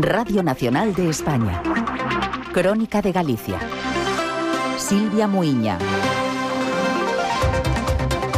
Radio Nacional de España. Crónica de Galicia. Silvia Muiña.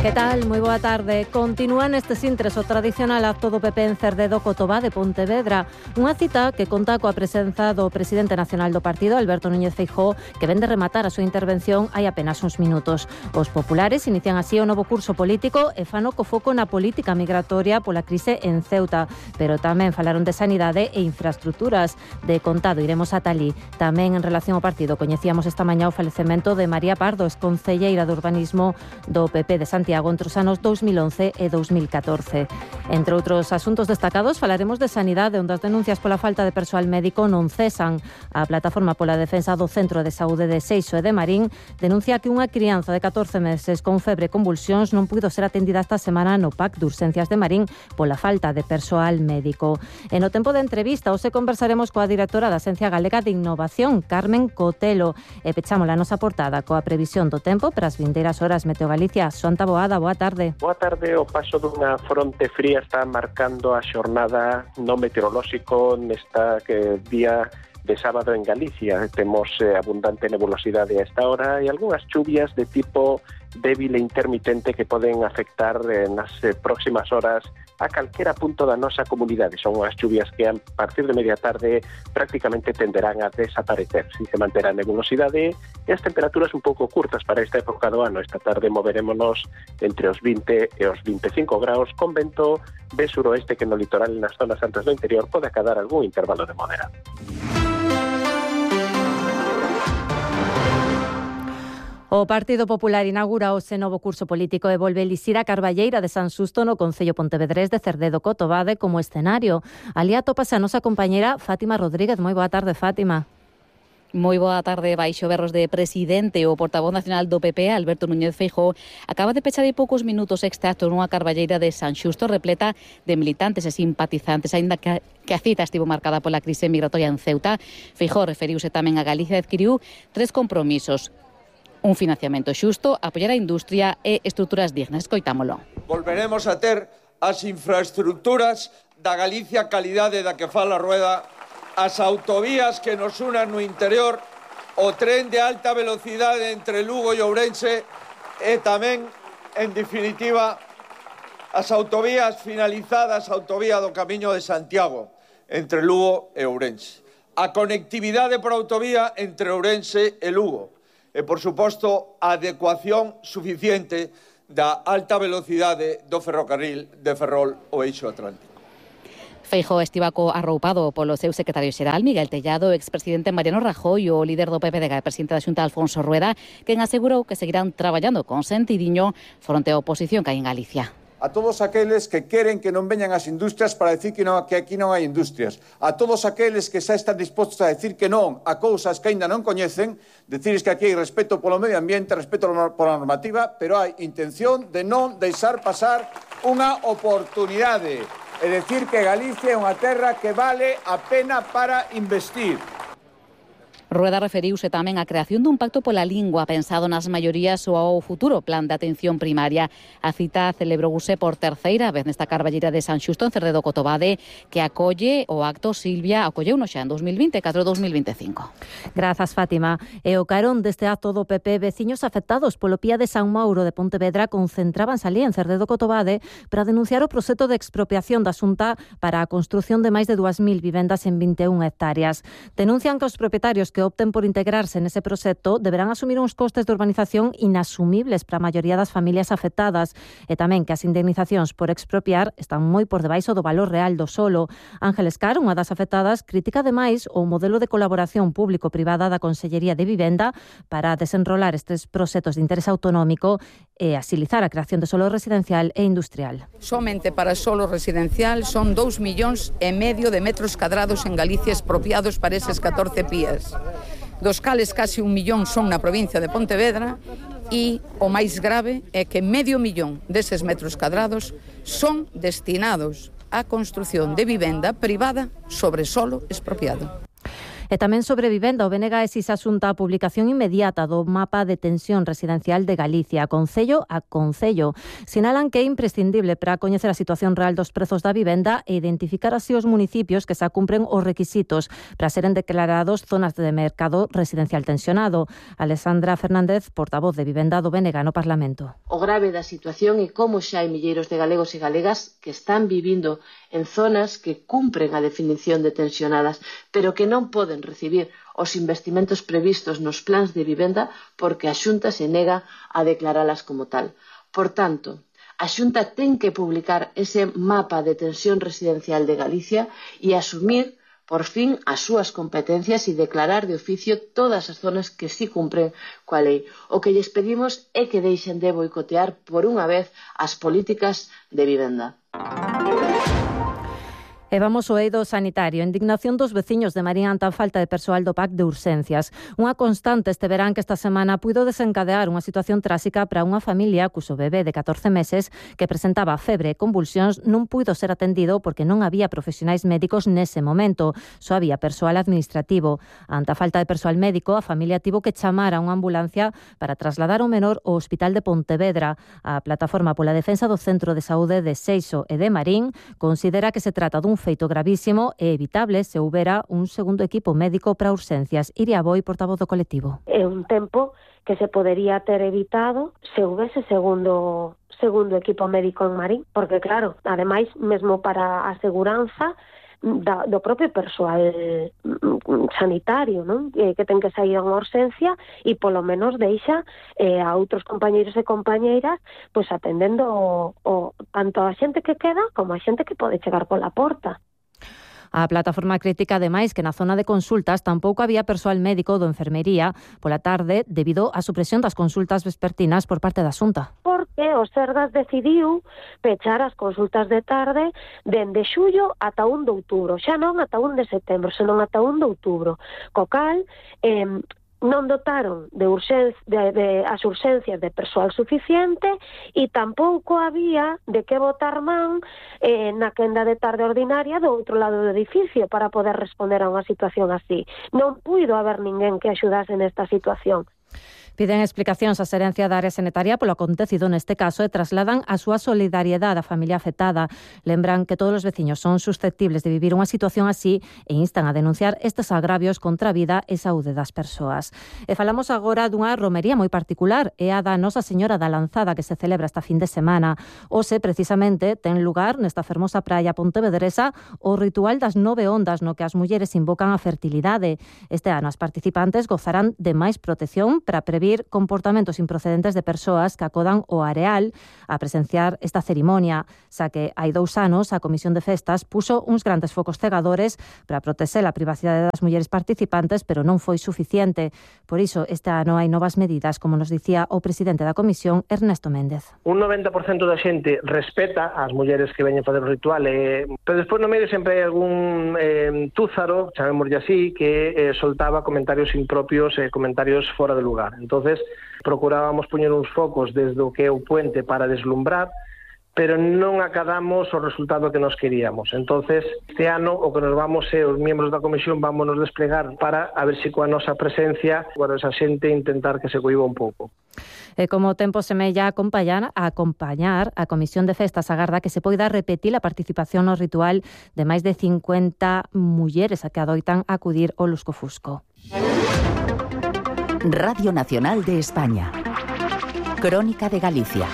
Que tal? Moi boa tarde. Continúa neste sintres o tradicional acto do PP en Cerdedo Cotobá de Pontevedra. Unha cita que conta coa presenza do presidente nacional do partido, Alberto Núñez Feijóo, que ven de rematar a súa intervención hai apenas uns minutos. Os populares inician así o novo curso político e fano co foco na política migratoria pola crise en Ceuta. Pero tamén falaron de sanidade e infraestructuras. De contado iremos ata alí. Tamén en relación ao partido coñecíamos esta mañá o falecemento de María Pardo, exconcelleira de urbanismo do PP de Santiago entre os anos 2011 e 2014. Entre outros asuntos destacados, falaremos de sanidade, onde as denuncias pola falta de persoal médico non cesan. A Plataforma pola Defensa do Centro de Saúde de Seixo e de Marín denuncia que unha crianza de 14 meses con febre e convulsións non puido ser atendida esta semana no PAC de Urxencias de Marín pola falta de persoal médico. E no tempo de entrevista, hoxe conversaremos coa directora da Axencia Galega de Innovación, Carmen Cotelo, e pechamos a nosa portada coa previsión do tempo para as vindeiras horas. Meteo Galicia, Xoanta Boada, boa tarde. Boa tarde. O paso dunha fronte fría está marcando a xornada no meteorolóxico nesta día de sábado en Galicia. Temos abundante nebulosidade a esta hora e algunhas chuvias de tipo débil e intermitente que poden afectar nas próximas horas a calquera punto da nosa comunidade. Son unhas chuvias que a partir de media tarde prácticamente tenderán a desaparecer. Si se manterá a nebulosidade e as temperaturas un pouco curtas para esta época do ano. Esta tarde moverémonos entre os 20 e os 25 graus con vento de suroeste que no litoral e nas zonas altas do interior pode acadar algún intervalo de moderado. O Partido Popular inaugura ese novo curso político e volve elixir a Carballeira de San Xusto no Concello Pontevedrés de Cerdedo Cotobade como escenario. Alí atópase a nosa compañera Fátima Rodríguez. Moi boa tarde, Fátima. Moi boa tarde. Baixo berros de presidente, o portavoz nacional do PP, Alberto Núñez Feijóo, acaba de pechar hai poucos minutos este acto nunha Carballeira de San Xusto repleta de militantes e simpatizantes, aínda que a cita estivo marcada pola crise migratoria en Ceuta. Feijóo referiuse tamén a Galicia e adquiriu 3 compromisos: un financiamento xusto, apoiar a industria e estruturas dignas. Escoitámolo. Volveremos a ter as infraestructuras da Galicia calidade da que fala Rueda, as autovías que nos unan no interior, o tren de alta velocidade entre Lugo e Ourense e tamén, en definitiva, as autovías finalizadas, a autovía do Camiño de Santiago entre Lugo e Ourense. A conectividade por autovía entre Ourense e Lugo. E, por suposto, a adecuación suficiente da alta velocidade do ferrocarril de Ferrol ao eixo atlántico. Feijóo estivaco arroupado polo seu secretario xeral, Miguel Tellado, expresidente Mariano Rajoy, o líder do PPD, presidente da Xunta, Alfonso Rueda, quen asegurou que seguirán traballando con sentidiño fronte á oposición que hai en Galicia. A todos aqueles que queren que non veñan as industrias para decir que aquí non hai industrias. A todos aqueles que xa están dispostos a decir que non a cousas que aínda non coñecen, decirles que aquí hai respeto polo medio ambiente, respeto pola normativa, pero hai intención de non deixar pasar unha oportunidade. É dicir que Galicia é unha terra que vale a pena para investir. Rueda referiuse tamén á creación dun pacto pola lingua pensado nas maiorías ou ao futuro plan de atención primaria. A cita celebrouse por terceira vez nesta Carballeira de San Xusto en Cerdedo Cotobade, que acolle o acto Silvia, acolleuno xa en 2024-2025. Grazas, Fátima. E o carón deste acto do PP, veciños afectados polo Pía de San Mauro de Pontevedra concentrábanse ali en Cerdedo Cotobade para denunciar o proxecto de expropiación da Xunta para a construción de máis de 2.000 vivendas en 21 hectáreas. Denuncian que os propietarios que opten por integrarse nese proxecto deberán asumir uns costes de urbanización inasumibles para a maioría das familias afectadas e tamén que as indemnizacións por expropiar están moi por debaixo do valor real do solo. Ángeles Car, unha das afectadas, critica ademais o modelo de colaboración público-privada da Consellería de Vivenda para desenrolar estes proxectos de interés autonómico e asilizar a creación de solo residencial e industrial. Somente para solo residencial son 2,5 millóns de metros cadrados en Galicia expropiados para eses 14 pías, dos cales casi 1 millón son na provincia de Pontevedra e o máis grave é que 500 millón deses metros cadrados son destinados á construción de vivenda privada sobre solo expropiado. E tamén sobre vivenda, o BNG exixe asunta a publicación inmediata do mapa de tensión residencial de Galicia, concello a concello. Sinalan que é imprescindible para coñecer a situación real dos prezos da vivenda e identificar así os municipios que xa cumpren os requisitos para seren declarados zonas de mercado residencial tensionado. Alexandra Fernández, portavoz de Vivenda do BNG no Parlamento. O grave da situación é como xa hai milleiros de galegos e galegas que están vivindo en zonas que cumpren a definición de tensionadas, pero que non poden recibir os investimentos previstos nos plans de vivenda porque a Xunta se nega a declaralas como tal. Por tanto, a Xunta ten que publicar ese mapa de tensión residencial de Galicia e asumir, por fin, as súas competencias e declarar de oficio todas as zonas que sí cumpren coa lei. O que lles pedimos é que deixen de boicotear por unha vez as políticas de vivenda. E vamos ao eido sanitario. Indignación dos veciños de Marín ante a falta de persoal do PAC de urxencias. Unha constante este verán que esta semana puido desencadear unha situación tráxica para unha familia cuso bebé de 14 meses que presentaba febre e convulsións non puido ser atendido porque non había profesionais médicos nese momento. Só había persoal administrativo. Ante a falta de persoal médico, a familia tivo que chamar a unha ambulancia para trasladar o menor ao Hospital de Pontevedra. A Plataforma pola Defensa do Centro de Saúde de Seixo e de Marín considera que se trata dun feito gravísimo e evitable se houbera un segundo equipo médico para urxencias. Iria Boi, portavoz do colectivo. É un tempo que se podería ter evitado se houvese segundo equipo médico en Marín, porque claro, ademais, mesmo para a seguranza do propio persoal sanitario, non? Que ten que sair a unha urxencia e polo menos deixa a outros compañeiros e compañeiras pois atendendo tanto a xente que queda como a xente que pode chegar pola porta. A plataforma critica, ademais, que na zona de consultas tampouco había persoal médico do enfermería pola tarde debido á supresión das consultas vespertinas por parte da Xunta. Porque o Sergas decidiu pechar as consultas de tarde dende xullo ata 1 de outubro. Xa non ata 1 de setembro, senón ata 1 de outubro. Co cal, non dotaron de as urxencias de persoal suficiente e tampouco había de que botar man na quenda de tarde ordinaria do outro lado do edificio para poder responder a unha situación así. Non puido haber ninguén que axudase nesta situación. Piden explicacións á Xerencia da Área Sanitaria polo acontecido neste caso e trasladan a súa solidariedade á familia afectada. Lembran que todos os veciños son susceptibles de vivir unha situación así e instan a denunciar estes agravios contra a vida e saúde das persoas. E falamos agora dunha romería moi particular, é a da Nosa Señora da Lanzada que se celebra esta fin de semana. Hoxe, precisamente, ten lugar nesta fermosa praia pontevedresa o ritual das 9 ondas no que as mulleres invocan a fertilidade. Este ano as participantes gozarán de máis protección para prevenir comportamentos improcedentes de persoas que acodan ao areal a presenciar esta cerimonia, xa que hai 2 anos a Comisión de Festas puxo uns grandes focos cegadores para protexer a privacidade das mulleres participantes, pero non foi suficiente. Por iso, este ano hai novas medidas, como nos dicía o presidente da Comisión, Ernesto Méndez. Un 90% da xente respeta as mulleres que veñen fazer o ritual, pero despois no medio sempre hai algún túzaro, chamémoslle así, que soltaba comentarios impropios e comentarios fora de lugar. Entonces, procurábamos poñer uns focos desde o que é o puente para deslumbrar, pero non acadamos o resultado que nos queríamos. Entonces, este ano o que nos vamos é, os miembros da comisión vamos nos desplegar para a ver se coa nosa presencia, esa xente intentar que se cohiba un pouco. E como o tempo semella a acompañar, a Comisión de Festas agarda que se poida repetir a participación no ritual de máis de 50 mulleres a que adoitan acudir ao lusco-fusco. Radio Nacional de España. Crónica de Galicia.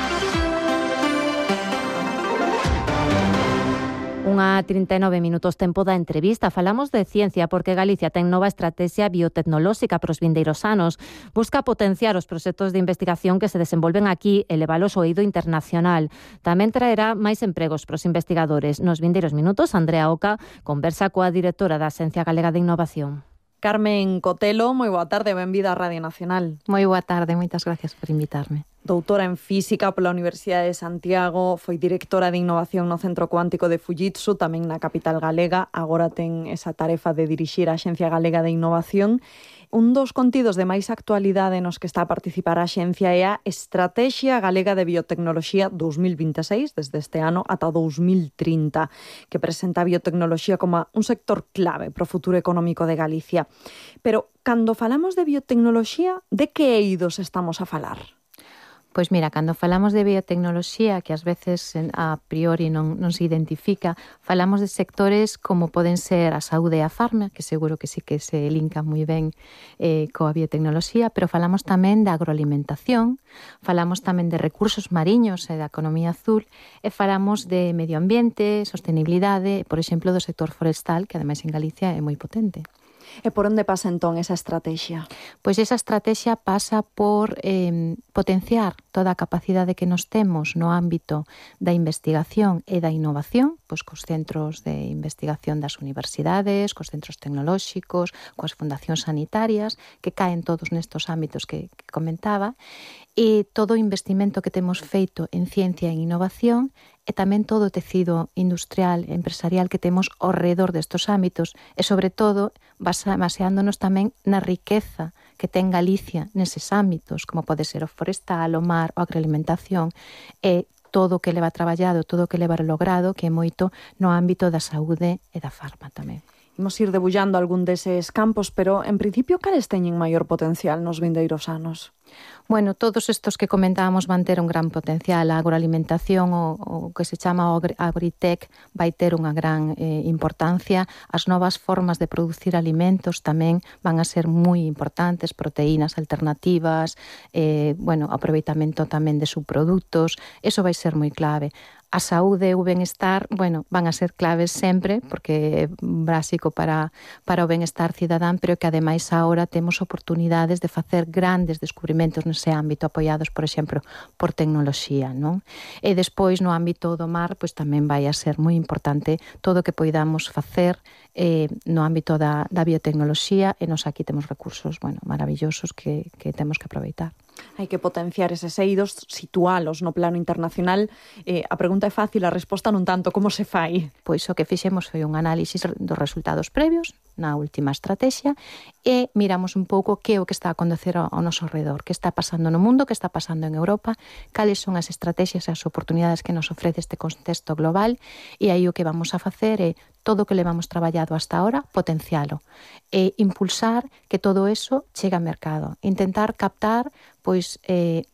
Unha 39 minutos tempo da entrevista. Falamos de ciencia porque Galicia ten nova estratexia biotecnolóxica para os vindeiros anos. Busca potenciar os proxectos de investigación que se desenvolven aquí e levalos ao eido internacional. Tamén traerá máis empregos para os investigadores. Nos vindeiros minutos, Andrea Oca conversa coa directora da Axencia Galega de Innovación. Carmen Cotelo, moi boa tarde, benvida á Radio Nacional. Moi boa tarde, moitas gracias por invitarme. Doutora en Física pola Universidade de Santiago, foi directora de Innovación no Centro Cuántico de Fujitsu, tamén na capital galega. Agora ten esa tarefa de dirixir a Axencia Galega de Innovación. Un dos contidos de máis actualidade nos que está a participar a Axencia é a Estrategia Galega de Biotecnoloxía 2026, desde este ano ata 2030, que presenta a biotecnoloxía como un sector clave para o futuro económico de Galicia. Pero, cando falamos de biotecnoloxía, de que eidos estamos a falar? Pois mira, cando falamos de biotecnoloxía, que ás veces a priori non se identifica, falamos de sectores como poden ser a saúde e a farma, que seguro que sí que se linka moi ben coa biotecnoloxía, pero falamos tamén da agroalimentación, falamos tamén de recursos mariños e da economía azul, e falamos de medio ambiente, sostenibilidade, por exemplo, do sector forestal, que ademais en Galicia é moi potente. E por onde pasa entón esa estrategia? Pois esa estrategia pasa por potenciar toda a capacidade que nos temos no ámbito da investigación e da innovación, pois cos centros de investigación das universidades, cos centros tecnolóxicos, coas fundacións sanitarias, que caen todos nestos ámbitos que comentaba, e todo o investimento que temos feito en ciencia e en innovación, e tamén todo o tecido industrial e empresarial que temos ao redor destos ámbitos, e sobre todo baseándonos tamén na riqueza que ten Galicia neses ámbitos, como pode ser o forestal, o mar, a agroalimentación, e todo o que leva traballado, todo o que leva logrado, que é moito no ámbito da saúde e da farma tamén. Imos ir debullando algún deses campos, pero, en principio, cales teñen maior potencial nos vindeiros anos? Bueno, todos estos que comentábamos van ter un gran potencial. A agroalimentación, o que se chama agritech, vai ter unha gran importancia. As novas formas de producir alimentos tamén van a ser moi importantes, proteínas alternativas, aproveitamento tamén de subproductos, eso vai ser moi clave. A saúde e o benestar, van a ser claves sempre, porque é básico para o benestar cidadán, pero que ademais agora temos oportunidades de facer grandes descubrimentos nese ámbito, apoiados, por exemplo, por tecnoloxía, non? E despois, no ámbito do mar, pois tamén vai a ser moi importante todo o que poidamos facer no ámbito da biotecnoloxía, e nos aquí temos recursos, maravillosos que temos que aproveitar. Hai que potenciar eses eidos, situalos no plano internacional. A pregunta é fácil, a resposta non tanto. Como se fai? Pois o que fixemos foi un análisis dos resultados previos na última estrategia e miramos un pouco que é o que está a acontecer ao noso redor, que está pasando no mundo, que está pasando en Europa, cales son as estrategias e as oportunidades que nos ofrece este contexto global, e aí o que vamos a facer é todo o que levamos traballado hasta ahora, potencialo e impulsar que todo eso chegue ao mercado, intentar captar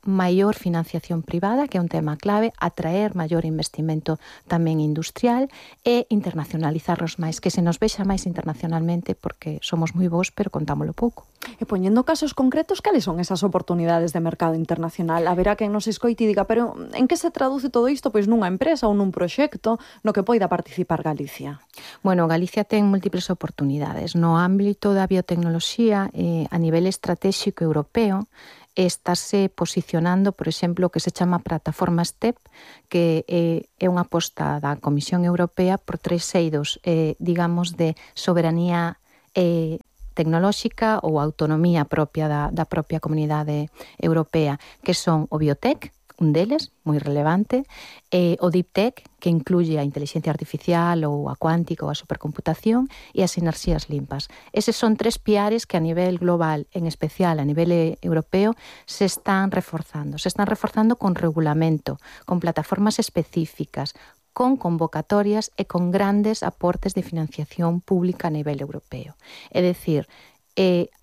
maior financiación privada, que é un tema clave, atraer maior investimento tamén industrial e internacionalizarnos máis, que se nos vexa máis internacionalmente, porque somos moi bons, pero contámolo pouco. E poñendo casos concretos, cales son esas oportunidades de mercado internacional? Haberá quen nos escoite e diga, pero en que se traduce todo isto? Pois nunha empresa ou nun proxecto no que poida participar Galicia. Bueno, Galicia ten múltiples oportunidades. No ámbito da biotecnoloxía, a nivel estratégico europeo, estáse posicionando, por exemplo, o que se chama plataforma STEP, que é unha aposta da Comisión Europea por 3 eidos, digamos, de soberanía tecnolóxica ou autonomía propia da propia comunidade europea, que son o biotech, un deles, moi relevante, o deep tech, que incluye a inteligencia artificial ou a cuántica ou a supercomputación, e as enerxías limpas. Eses son 3 piares que a nivel global, en especial a nivel europeo, se están reforzando. Se están reforzando con regulamento, con plataformas específicas, con convocatorias e con grandes aportes de financiación pública a nivel europeo. É dicir,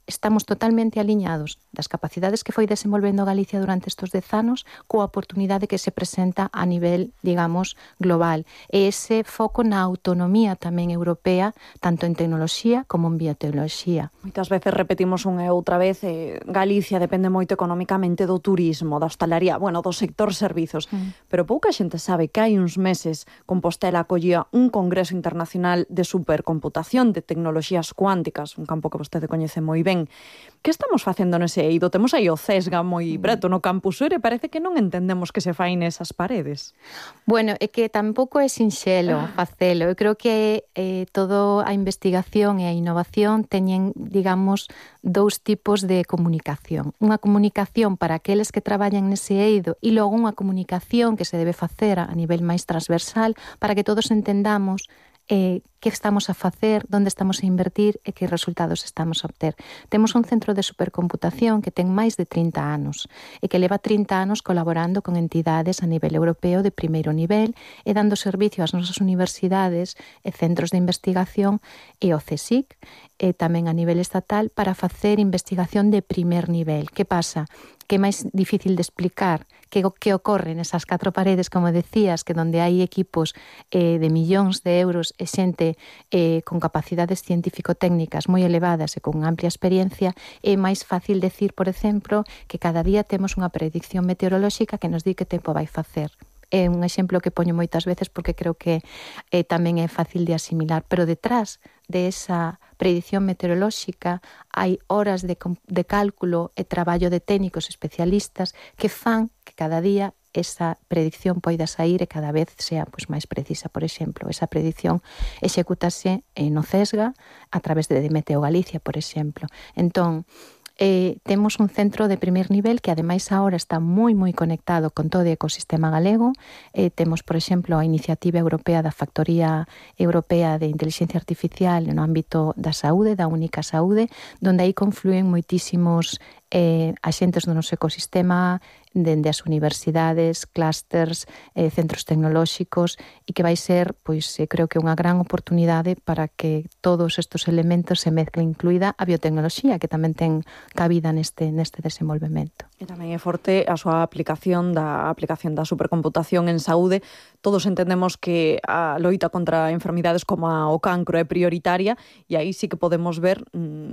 estamos totalmente aliñados das capacidades que foi desenvolvendo Galicia durante estes 10 anos coa oportunidade que se presenta a nivel, digamos, global. E ese foco na autonomía tamén europea, tanto en tecnoloxía como en biotecnoloxía. Moitas veces repetimos unha e outra vez, Galicia depende moito económicamente do turismo, da hostalaría, do sector servizos, pero pouca xente sabe que hai uns meses Compostela acollía un congreso internacional de supercomputación, de tecnoloxías cuánticas, un campo que vostede coñece moi ben. ben. Que estamos facendo nese eido? Temos aí o CESGA moi preto no Campus Sur e parece que non entendemos que se fai nesas paredes. Bueno, é que tampouco é sinxelo facelo. Eu creo que toda a investigación e a innovación teñen, digamos, dous tipos de comunicación. Unha comunicación para aqueles que traballan nese eido e logo unha comunicación que se debe facer a nivel máis transversal para que todos entendamos que estamos a facer, onde estamos a invertir e que resultados estamos a obter. Temos un centro de supercomputación que ten máis de 30 anos e que leva 30 anos colaborando con entidades a nivel europeo de primeiro nivel e dando servicio ás nosas universidades e centros de investigación e o CSIC e tamén a nivel estatal para facer investigación de primer nivel. Que pasa? Que é máis difícil de explicar que ocorre nesas 4 paredes, como decías, que donde hai equipos de millóns de euros e xente con capacidades científico-técnicas moi elevadas e con amplia experiencia, é máis fácil decir, por exemplo, que cada día temos unha predicción meteorolóxica que nos di que tempo vai facer. É un exemplo que poño moitas veces porque creo que tamén é fácil de asimilar, pero detrás de esa predicción meteorolóxica hai horas de cálculo e traballo de técnicos especialistas que fan que cada día esa predicción poida sair e cada vez sea máis precisa. Por exemplo, esa predicción execútase no CESGA a través de Meteo Galicia, por exemplo. Entón, temos un centro de primer nivel que ademais agora está moi conectado con todo o ecosistema galego. Temos, por exemplo, a iniciativa europea da Factoría Europea de Inteligencia Artificial no ámbito da saúde, da única saúde, donde aí confluen moitísimos axentes do noso ecosistema, dende as universidades, clústers, centros tecnolóxicos, e que vai ser, creo que unha gran oportunidade para que todos estes elementos se mezclen, incluída a biotecnoloxía, que tamén ten cabida neste desenvolvemento. E tamén é forte a súa aplicación da supercomputación en saúde. Todos entendemos que a loita contra enfermidades como o cancro é prioritaria e aí sí que podemos ver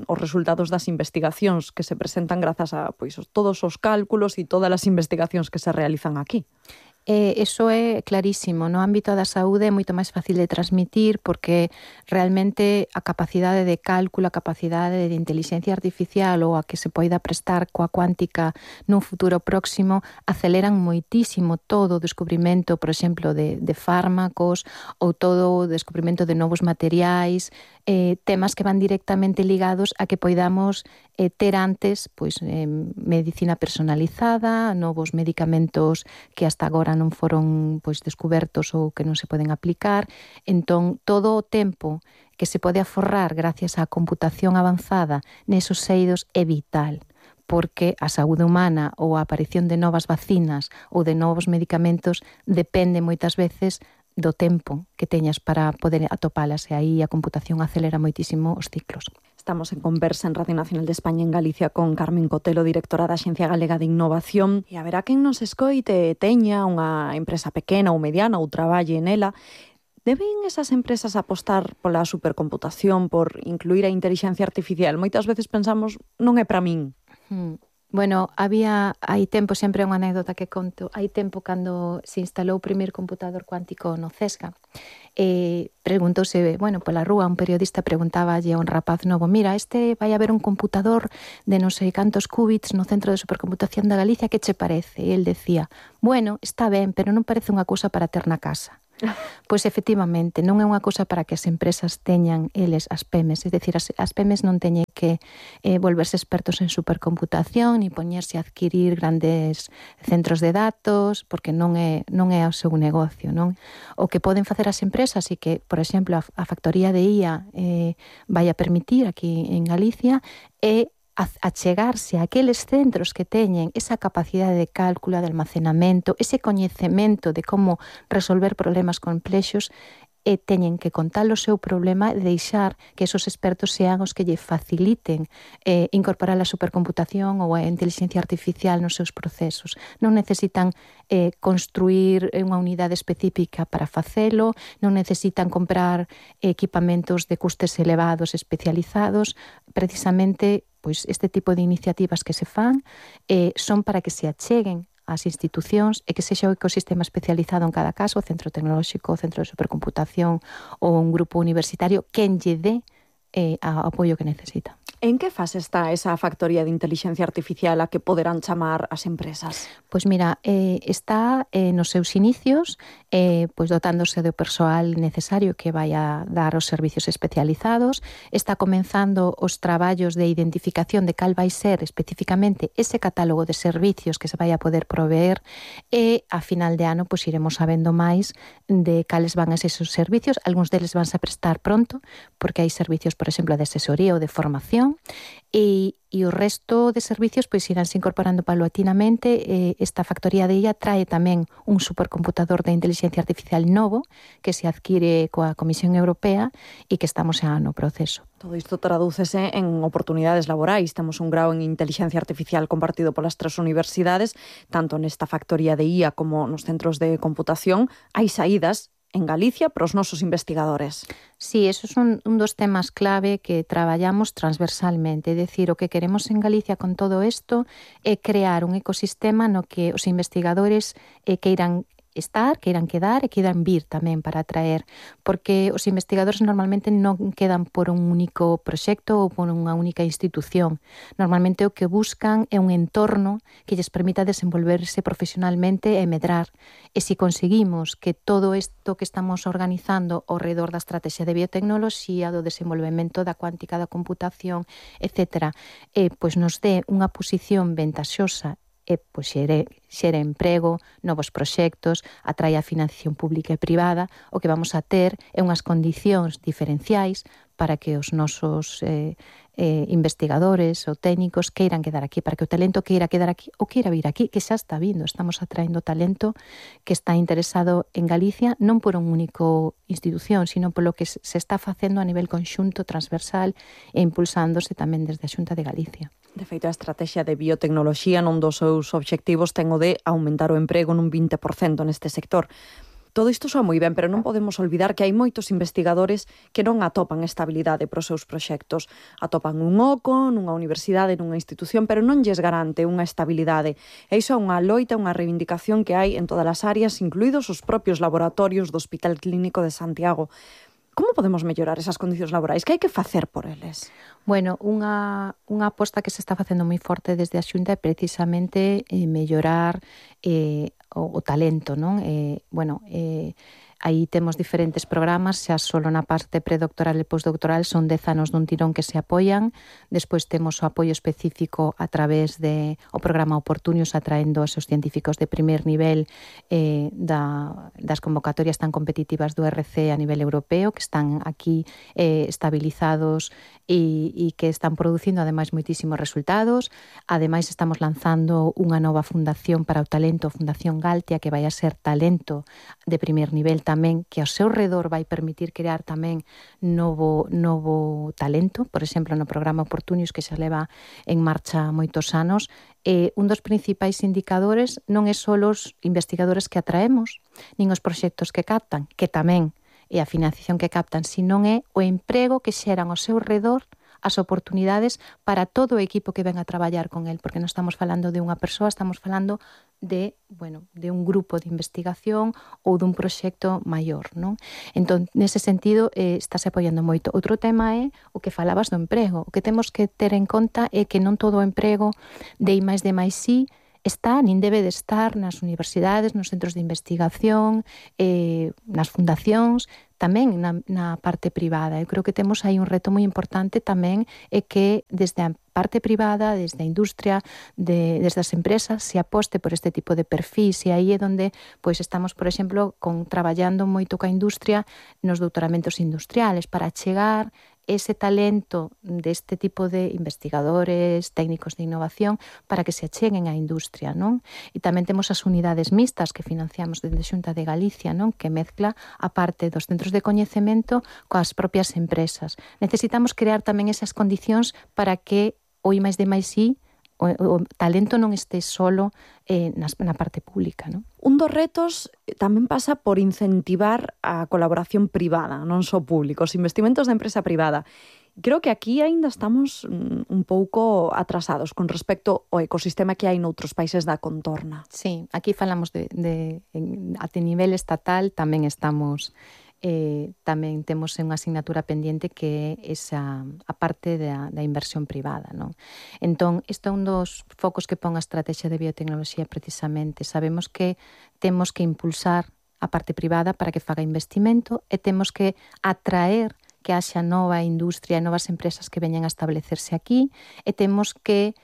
os resultados das investigacións que se presentan grazas a todos os cálculos e todas as investigacións que se realizan aquí. Eso é clarísimo. No ámbito da saúde é moito máis fácil de transmitir porque realmente a capacidade de cálculo, a capacidade de inteligencia artificial ou a que se poida prestar coa cuántica nun futuro próximo aceleran moitísimo todo o descubrimento, por exemplo, de fármacos ou todo o descubrimento de novos materiais, temas que van directamente ligados a que poidamos ter antes medicina personalizada, novos medicamentos que hasta agora non foron descubertos ou que non se poden aplicar. Entón, todo o tempo que se pode aforrar gracias á computación avanzada nesos eidos é vital, porque a saúde humana ou a aparición de novas vacinas ou de novos medicamentos depende moitas veces do tempo que teñas para poder atopalas, e aí a computación acelera moitísimo os ciclos. Estamos en conversa en Radio Nacional de España en Galicia con Carmen Cotelo, directora da Axencia Galega de Innovación. E haberá quen nos escoite teña unha empresa pequena ou mediana ou traballe nela. Deben esas empresas apostar pola supercomputación, por incluir a inteligencia artificial? Moitas veces pensamos, non é para min. Bueno, hai tempo, sempre unha anécdota que conto, hai tempo cando se instalou o primeiro computador cuántico no CESGA, preguntouse, pola rúa, un periodista preguntáballe a un rapaz novo, mira, vai haber un computador de non sei cantos qubits no Centro de Supercomputación da Galicia, que che parece? E el decía, está ben, pero non parece unha cousa para ter na casa. Pois efectivamente, non é unha cousa para que as empresas teñan eles as PEMES, é dicir, as PEMES non teñen que volverse expertos en supercomputación ni poñerse a adquirir grandes centros de datos, porque non é o seu negocio, non? O que poden facer as empresas e que, por exemplo, a factoría de IA vai a permitir aquí en Galicia é achegarse a aqueles centros que teñen esa capacidade de cálculo, de almacenamento, ese coñecemento de como resolver problemas complexos, e teñen que contar o seu problema e deixar que esos expertos sean os que lle faciliten incorporar a supercomputación ou a inteligencia artificial nos seus procesos. Non necesitan construir unha unidade específica para facelo, non necesitan comprar equipamentos de custes elevados especializados. Precisamente, este tipo de iniciativas que se fan son para que se acheguen as institucións e que sexa o ecosistema especializado en cada caso, o centro tecnolóxico, o centro de supercomputación ou un grupo universitario, quen lle dé ao apoio que necesita. En que fase está esa factoría de inteligencia artificial a que poderán chamar as empresas? Pois mira, está nos seus inicios, pois dotándose do persoal necesario que vai a dar os servicios especializados, está comenzando os traballos de identificación de cal vai ser especificamente ese catálogo de servicios que se vai a poder proveer e a final de ano pois iremos sabendo máis de cales van esos servicios. Algúns deles vanse a prestar pronto, porque hai servicios, por exemplo, de asesoría ou de formación, e o resto de servicios pois iránse incorporando paulatinamente. Esta factoría de IA trae tamén un supercomputador de inteligencia artificial novo que se adquire coa Comisión Europea e que estamos xa no proceso. Todo isto tradúcese en oportunidades laborais. Temos un grao en inteligencia artificial compartido polas 3 universidades, tanto nesta factoría de IA como nos centros de computación. Hai saídas en Galicia para os nosos investigadores. Sí, eso é un dos temas clave que traballamos transversalmente. É dicir, o que queremos en Galicia con todo isto é crear un ecosistema no que os investigadores queiran estar, queiran quedar e queiran vir tamén para atraer, porque os investigadores normalmente non quedan por un único proxecto ou por unha única institución. Normalmente o que buscan é un entorno que lles permita desenvolverse profesionalmente e medrar. E se conseguimos que todo isto que estamos organizando ao redor da estrategia de biotecnoloxía, do desenvolvemento da cuántica da computación, etc., pois nos dé unha posición ventaxosa e pois xere emprego, novos proxectos, atrae a financiación pública e privada, o que vamos a ter é unhas condicións diferenciais para que os nosos investigadores ou técnicos queiran quedar aquí, para que o talento queira quedar aquí ou queira vir aquí, que xa está vindo. Estamos atraendo talento que está interesado en Galicia, non por un único institución, sino polo que se está facendo a nivel conxunto, transversal e impulsándose tamén desde a Xunta de Galicia. De feito, a estrategia de biotecnoloxía non dos seus obxectivos ten o de aumentar o emprego nun 20% neste sector. Todo isto soa moi ben, pero non podemos olvidar que hai moitos investigadores que non atopan estabilidade para os seus proxectos. Atopan un oco, nunha universidade, nunha institución, pero non lles garante unha estabilidade. E iso é unha loita, unha reivindicación que hai en todas as áreas, incluídos os propios laboratorios do Hospital Clínico de Santiago. Como podemos mellorar esas condicións laborais? Que hai que facer por eles? Bueno, unha aposta que se está facendo moi forte desde a Xunta é precisamente mellorar o talento, non? Aí temos diferentes programas, xa solo na parte predoctoral e postdoctoral son 10 anos dun tirón que se apoian. Despois temos o apoio específico a través de o programa Oportunius, atraendo aos científicos de primer nivel das convocatorias tan competitivas do RC a nivel europeo, que están aquí estabilizados e que están producindo ademais moitísimos resultados. Ademais estamos lanzando unha nova fundación para o talento, Fundación Galtia, que vai a ser talento de primer nivel tamén, que ao seu redor vai permitir crear tamén novo talento. Por exemplo, no programa Oportunius, que xa leva en marcha moitos anos, un dos principais indicadores non é só os investigadores que atraemos, nin os proxectos que captan, que tamén e a financiación que captan, sino é o emprego que xeran ao seu redor, as oportunidades para todo o equipo que ven a traballar con el, porque non estamos falando de unha persoa, estamos falando de un grupo de investigación ou dun proxecto maior, non? Entón, nese sentido, estáse apoiando moito. Outro tema é o que falabas do emprego. O que temos que ter en conta é que non todo o emprego de I+D+I está, nin debe de estar nas universidades, nos centros de investigación, nas fundacións, tamén na parte privada. Eu creo que temos aí un reto moi importante tamén, é que desde a parte privada, desde a industria, desde as empresas, se aposte por este tipo de perfis, e aí é onde pois estamos, por exemplo, traballando moito coa industria nos doutoramentos industriales para chegar ese talento deste tipo de investigadores, técnicos de innovación, para que se acheguen á industria, non? E tamén temos as unidades mixtas que financiamos desde Xunta de Galicia, non? Que mezcla a parte dos centros de coñecemento coas propias empresas. Necesitamos crear tamén esas condicións para que o I+D+I, o talento non este solo na parte pública, non? Un dos retos tamén pasa por incentivar a colaboración privada, non só público, os investimentos da empresa privada. Creo que aquí aínda estamos un pouco atrasados con respecto ao ecosistema que hai noutros países da contorna. Sí, aquí falamos a nivel estatal, tamén estamos tamén temos unha asignatura pendiente que é esa a parte da inversión privada, non? Entón, isto é un dos focos que pon a estrategia de biotecnoloxía precisamente. Sabemos que temos que impulsar a parte privada para que faga investimento e temos que atraer que haxa nova industria e novas empresas que veñan a establecerse aquí e temos que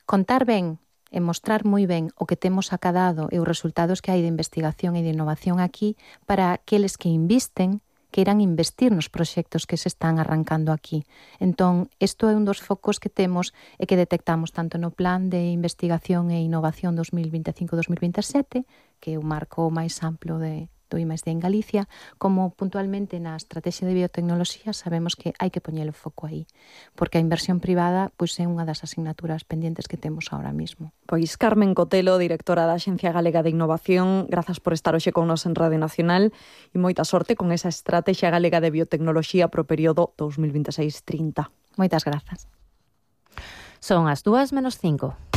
contar ben e mostrar moi ben o que temos acadado e os resultados que hai de investigación e de innovación aquí para aqueles que invisten, que irán investir nos proxectos que se están arrancando aquí. Entón, isto é un dos focos que temos e que detectamos tanto no Plan de Investigación e Innovación 2025-2027, que é o marco máis amplo do I+D en Galicia, como puntualmente na estrategia de biotecnoloxía sabemos que hai que poñer o foco aí, porque a inversión privada pois é unha das asignaturas pendientes que temos ahora mismo. Pois Carmen Cotelo, directora da Axencia Galega de Innovación, grazas por estar hoxe con nos en Radio Nacional e moita sorte con esa estrategia galega de biotecnoloxía pro período 2026-30. Moitas grazas. Son as 2:05.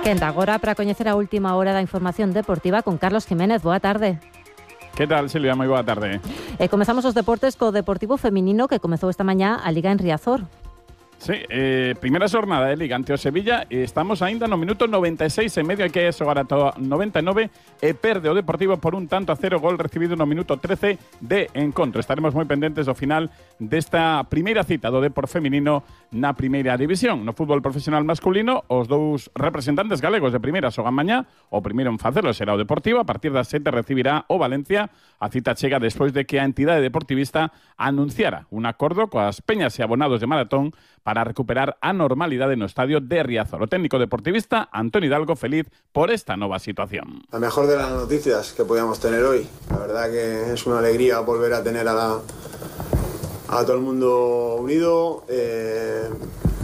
Quenda agora para coñecer a última hora da información deportiva con Carlos Jiménez. Boa tarde. Que tal, Silvia? Moi boa tarde. Comezamos os deportes co Deportivo Feminino que comezou esta mañá a Liga en Riazor. Sí, primeira xornada de Liga ante o Sevilla e estamos aínda no minuto 96 e medio, hai que xogar ata 99 e perde o Deportivo por 1-0, gol recibido no minuto 13 de encontro. Estaremos moi pendentes do final desta primeira cita do Depor feminino na primeira división. No fútbol profesional masculino, os dous representantes galegos de primeira xogan mañá. O primeiro en facelo será o Deportivo, a partir das 7 recibirá o Valencia. A cita chega despois de que a entidade deportivista anunciara un acordo coas peñas e abonados de maratón para recuperar a normalidade no estadio de Riazor. O técnico deportivista Antonio Hidalgo feliz por esta nova situación. La mejor de las noticias que podíamos tener hoy. La verdad que es una alegría volver a tener a todo el mundo unido.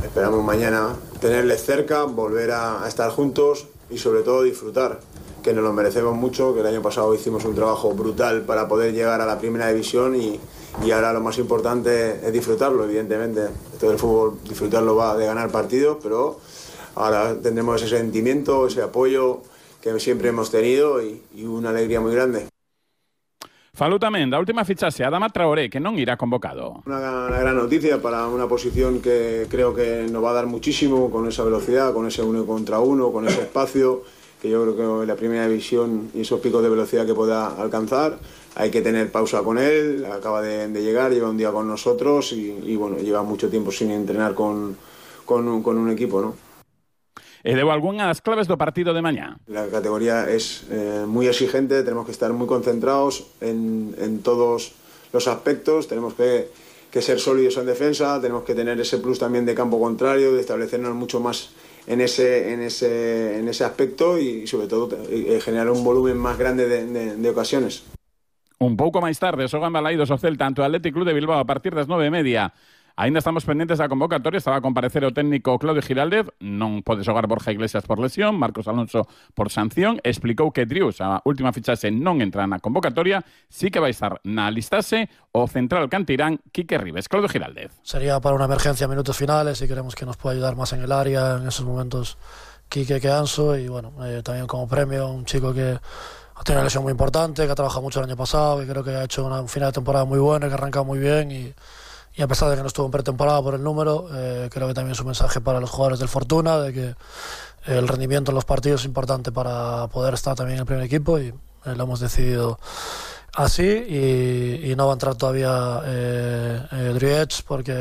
Esperamos mañana tenerles cerca, volver a estar juntos y sobre todo disfrutar, que nos lo merecemos mucho, que el año pasado hicimos un trabajo brutal para poder llegar a la primera división y ahora lo más importante es disfrutarlo, evidentemente. Esto del fútbol, disfrutarlo va de ganar partidos, pero ahora tendremos ese sentimiento, ese apoyo que siempre hemos tenido y una alegría muy grande. Falou tamén da última fichaxe Adama Traoré, que non irá convocado. Una gran noticia para una posición que creo que nos va a dar muchísimo, con esa velocidad, con ese 1 contra 1, con ese espacio, que yo creo que en la primera división y esos picos de velocidad que pueda alcanzar, hay que tener pausa con él, acaba de llegar, lleva un día con nosotros y bueno, lleva mucho tiempo sin entrenar con un equipo, ¿no? E deu algunhas claves do partido de mañá. La categoría es muy exigente, tenemos que estar muy concentrados en todos los aspectos, tenemos que ser sólidos en defensa, tenemos que tener ese plus también de campo contrario, de establecernos mucho más en ese aspecto y sobre todo generar un volumen más grande de ocasiones. Un pouco máis tarde, xogan Balaidos o Celta ante o Athletic Club de Bilbao a partir das 9:30. Ainda estamos pendentes da convocatoria, estaba a comparecer o técnico Claudio Giraldez, non pode xogar Borja Iglesias por lesión, Marcos Alonso por sanción, explicou que Drius, a última fichaxe, non entra na convocatoria, sí que vai estar na listase o central cantirán Quique Ribes. Claudio Giraldez. Sería para una emergencia a minutos finales y queremos que nos pueda ayudar más en el área en esos momentos Quique que Anso y bueno, también como premio un chico que ha tenido una lesión muy importante, que ha trabajado mucho el año pasado, que creo que ha hecho un final de temporada muy bueno, que ha arrancado muy bien y a pesar de que no estuvo en pretemporada por el número, creo que también es un mensaje para los jugadores del Fortuna, de que el rendimiento en los partidos es importante para poder estar también en el primer equipo y lo hemos decidido así y no va a entrar todavía Driech porque